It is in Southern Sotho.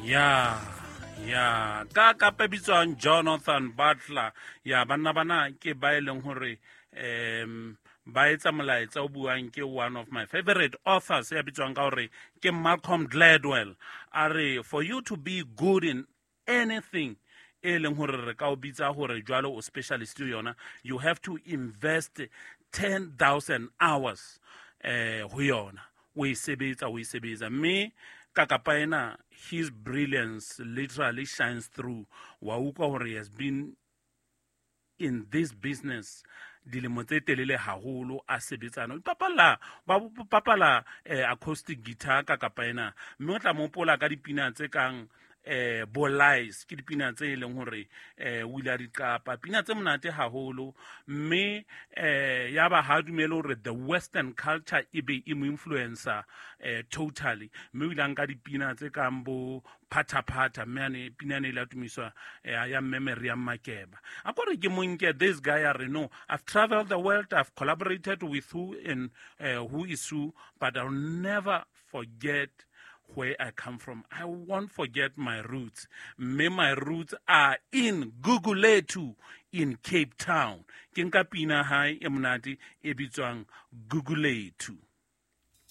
Ya ya ka kapa bitswang Jonathan Butler. Ya banna bana ke ba e leng hore ba etsa molaetsa o buang ke one of my favorite authors ya bitswang ka hore ke Malcolm Gladwell. A re, for you to be good in anything e leng hore re ka o bitsa hore jwalo o specialist yona, you have to invest 10,000 hours ho yona, o e sebetsa, o e sebetsa. Mme ka kapa ena, his brilliance literally shines through. Wa utlwa hore he has been in this business dilemo tse telele haholo a sebetsana, o ipapalla, ba bapala acoustic guitar ka kapa ena. Mme o tla mo hopola ka dipina tse kang Bolies, ke dipina tse e leng hore o ile a di qapa, pina tse monate haholo. Mme ya ba ha dumele hore the western culture e be e mo influencer totally. Mme o ile a nka dipina tse kang bo Phathaphatha, mme ane pina ane ile a tumiswa ya mme Miriam Makeba. A kore ke monke this guy a re, "No, I've traveled the world, I've collaborated with who and who is who, but I'll never forget where I come from. I won't forget my roots." Mme my roots are in Gugulethu in Cape Town. Ke nka pina hae e monate e bitswang Gugulethu.